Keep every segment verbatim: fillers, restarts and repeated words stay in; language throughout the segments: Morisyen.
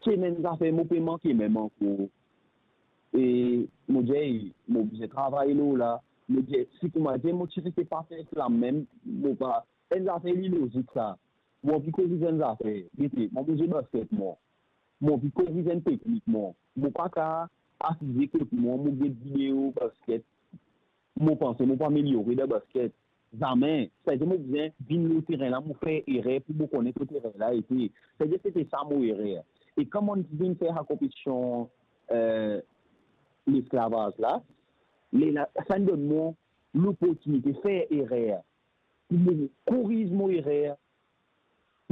Ki enn zafer mo pe manke mem ankor. E mo dir, "Ey, mo bizin travay lor la." Mo dir, "Si koumadir mo ti rete pa fer slam mem, mo pa, enn zafer li lozik sa. Mo anvi koriz enn zafer. Gete, mo bizin basket mwa. Mo anvi koriz enn teknik mwa. Mo pa ka asize kot mwa, mo get video basket. Mo panse mo pou ameliore dan basket. Zame. Setadir mo bizin vinn lor terin la, mo fer erer pou mo kone kot erer la ete." Setadir sete sa mo erer. E kan mo vinn fer sa konpetision, eh, lesklavaz la, lerla, sa donn mwa loportinite fer erer, pou mo koriz mo erer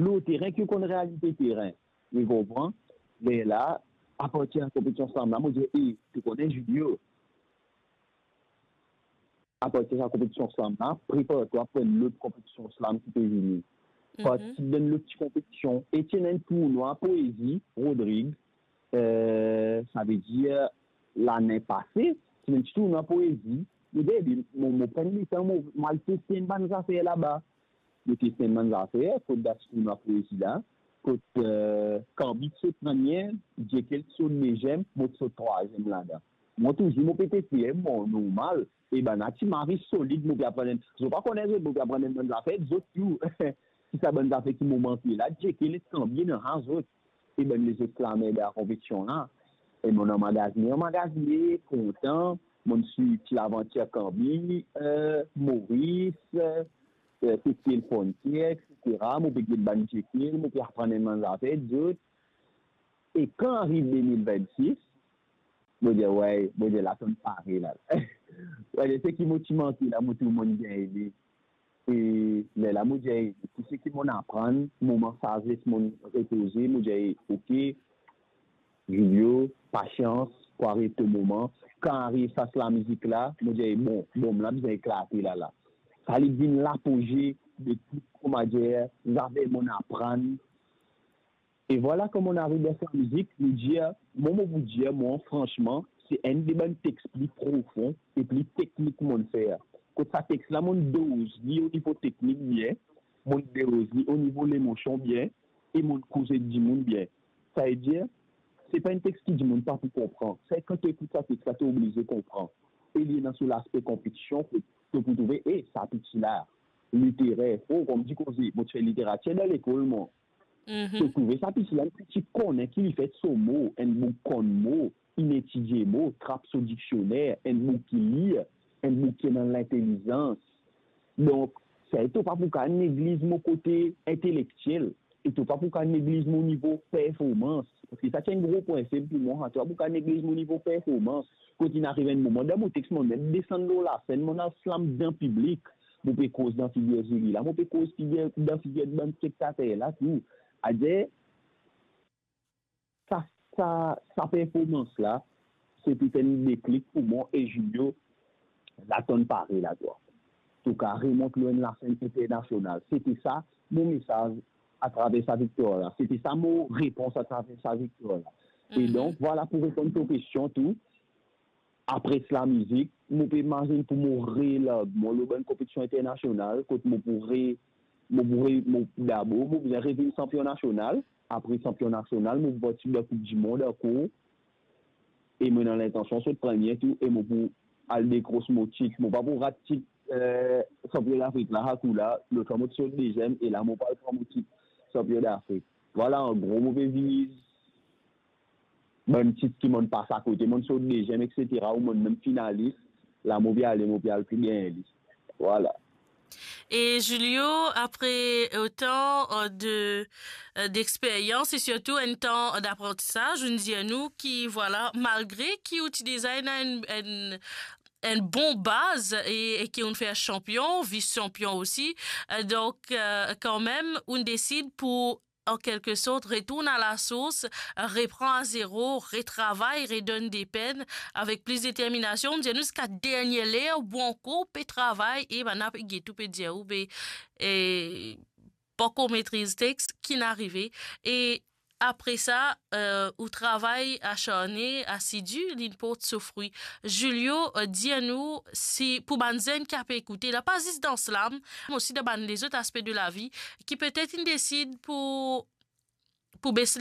lor terin, ki konn realite terin. Ou konpran? Lerla, apartir sa konpetision slam la, mo dir, "Ey, to kone Julio, apartir sa konpetision slam la, prepar twa pou enn lot konpetision slam ki pe vini." Partisip dan lot ti konpetision, e ti ena enn tournwa poezi, Rodrig, eh, savedir lane pase, ti ena enn ti tournwa poezi, mo dir, "Ey, mo, mo pran letan, mo, mo al teste enn bann zafer laba." Mo teste enn bann zafer, kot dan ti tournwa poezi la, kot, eh, Kambi ti sot premie, Jekyll ti sot deziem, mo ti sot trwaziem ladan. Mo touzour, mo pe teste, bon, normal, e bann la ti mari solid, mo pe aprann enn, zot pa kone zot, mo pe aprann enn bann zafer, zot tou. Ki sa bann zafer ki mo manke la, Jekyll ek Kambi ena zot. E bann lezot slammer dan konpetision la. E mo anmagazine, anmagazine, kontan, mo swiv ti lavantir Kambi, eh, Moris, eh, eh, Tete Frontier, et cetera. Mo pe get bann Jekyll, mo pe aprann enn bann zafer, zot. E kan ariv de mil vennsis, mo dir, wey, mo dir, la tonn pare la. Mo dir, seki mo ti manke la, mo tou mo gagn li. E lerla mo dir, tou seki mo aprann, moman sazes mo repoze, mo dir, ok, Julio, pasians, pou ariv to moman. Kan ariv sa, sa lamizik la, mo dir, bon, bonm la bizin eklate la, la. Sa li vinn lapoze de tou, koumadir, zafer mo aprann. E vwala kouma mo ariv dan sa mizik, mo dir, mo, mo pou dir, mwa, fransman, se enn de bann text pli profon e pli teknik mo fer. Kot sa text la, mo doz li o nivo teknik bien, mo doz li o nivo lemosion bien, e mo koz ek dimoun bien. Savedir, se pa enn text ki dimoun pa pou konpran. Se kan to ekout sa text la, to oblize konpran. E li ena so laspe konpetision, to pou trouve, e sa piti la, literer. O, kouma dir koze, mo ti fer literatir dan lekol, mwa. To trouve sa piti la, enn piti konnen ki li fer so mo, enn boug konn mo, inn etidie mo, trap so diksioner, enn boug ki lir, enn boug ki ena lintelizans. Donk, sa to pa pou kapav negliz mo kote intelektiel, e to pa pou kapav negliz mo nivo performans. Parski sa ti enn gro prinsip pou mwa, to pa pou kapav negliz mo nivo performans. Kot inn ariv enn moman, dan mo text, mo mem desann lor lasenn, mo al slam dan piblik. Mo pe koz dan figir Julie la, mo pe koz figir, dan figir bann spektater la tou. Adir, sa, sa, sa performans la, se ti enn deklik pou mwa, e Julio, la tonn pare la, twa. To kapav remont lor enn lasenn internasional. Sete sa mo mesaz atraver sa viktwar la. Sete sa mo repons atraver sa viktwar la. E donk, vwala, pou reponn to kestion tou, apre sa lamizik, mo pe imazinn pou mo relarg mwa lor bann konpetision internasional, kot mo pou re, mo pou re, mo, dabor, mo bizin revinn sanpion nasional, apre sanpion nasional, mo pou partisip dan Koup di Mond ankor, e mo ena lintansion sot premie tou, e mo pou al dekros mo tit, mo pa pou rat tit, eh, sanpion Dafrik la, sa kou la, lot fwa mo ti sot deziem, e la mo pou al pran mo tit sanpion Dafrik. Vwala, an gro, mo pe viz bann tit ki mo pas akote, mo sot deziem, et cetera, ou mo mem finalis, la mo pe ale, mo pe al pli bien li. Vwala. Et Julio, après autant, euh, de, euh, d'expérience et surtout un temps d'apprentissage, ou dir nou ki, vwala, malgre ki ou ti deza ena enn, enn, enn bon baz e, e ki ou fer sanpion, vis-sanpion osi, euh, donk, euh, kanmem, ou desid pou an kelke sort, retourn a la sours, repran a zero, retravay, redonn de pen avek plis determinasion. Dir nou ziska dernie ler, ou ankor pe travay, e bann la pe get ou, pe dir ou, be, e, pankor metriz text, ki'nn arive. E apre sa, euh, ou travay asarne, asidi, li'nn port so frwi. Julio, euh, dir nou, si pou bann zenn ki pe ekoute la, pa zis dan slam, me osi dan bann lezot aspe de lavi, ki petet inn desid pou, pou bes